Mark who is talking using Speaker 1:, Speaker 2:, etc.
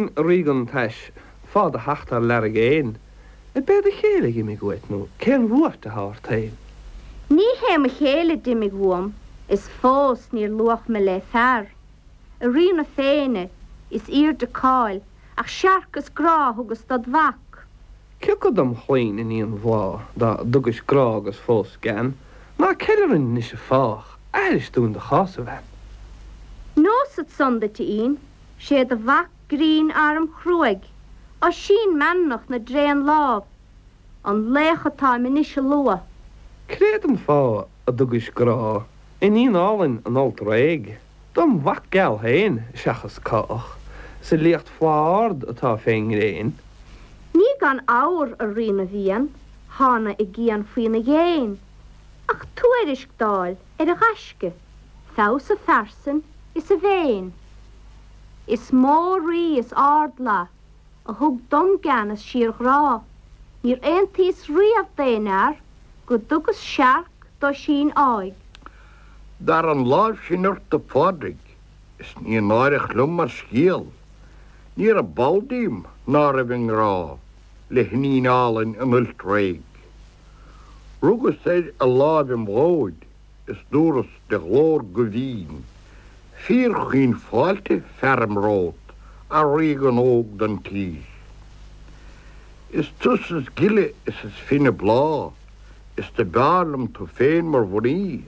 Speaker 1: dúinn, a ríogan tais, fá do theacht thar lear i gcéin. Ab é do chéile a dh'imigh uait nó cén bhuairt atá ort féin?
Speaker 2: Ní hé mo chéile d'imigh uaim is fós níor luach me le fear. A Rí na Féinne, is aoirde cáil ach searc is grá a thugas dod mhac.
Speaker 1: Cioca dom chlainn, iníon Bhláth, dá dtugais grá agus fós gean, ná ceil orainn anois a fách, aithris dúinn do chás, a bhean.
Speaker 2: Neosad san duit, a Fhinn, 'sé do mhac grinn arm chruaidh, Oisín Meanmnach na dtréan lámh, an laoch atáim anois a lua.
Speaker 1: Créad an fáth a dtugais grá, iníon álainn an Fholt Réidh, dom mhac geal féin, seachas cách, sa liacht flaith ard atá fén ngréin?
Speaker 2: Ní gan fhabhar, a Rí na bhFiann, thána i gcian faoina dhéin, ach tuairisc d'fháil ar a ghaisce, feabhas a phearsain is a mhéin. Is mó rí is ardfhlaith a thug dom gean is síorghrá, níor aontaíos riamh d'aon fhear go dtugas searc d'Oisín áidh.
Speaker 3: Dar an láimh sin ort, a Phádraig, is ní náireach liom mar scéal, ní raibh ball díom ná raibh i ngrá le hiníon álainn an Fhoilt Réidh. Rugas air a láimh im bhróid is dúras de ghlór go bhinn, Fíorchaoin fáilte fearaim romhat, a ríogan óg don tír. Is tusa is gile is is finne bláth, is do b'fhearr liom tú féin mar mhnaoi.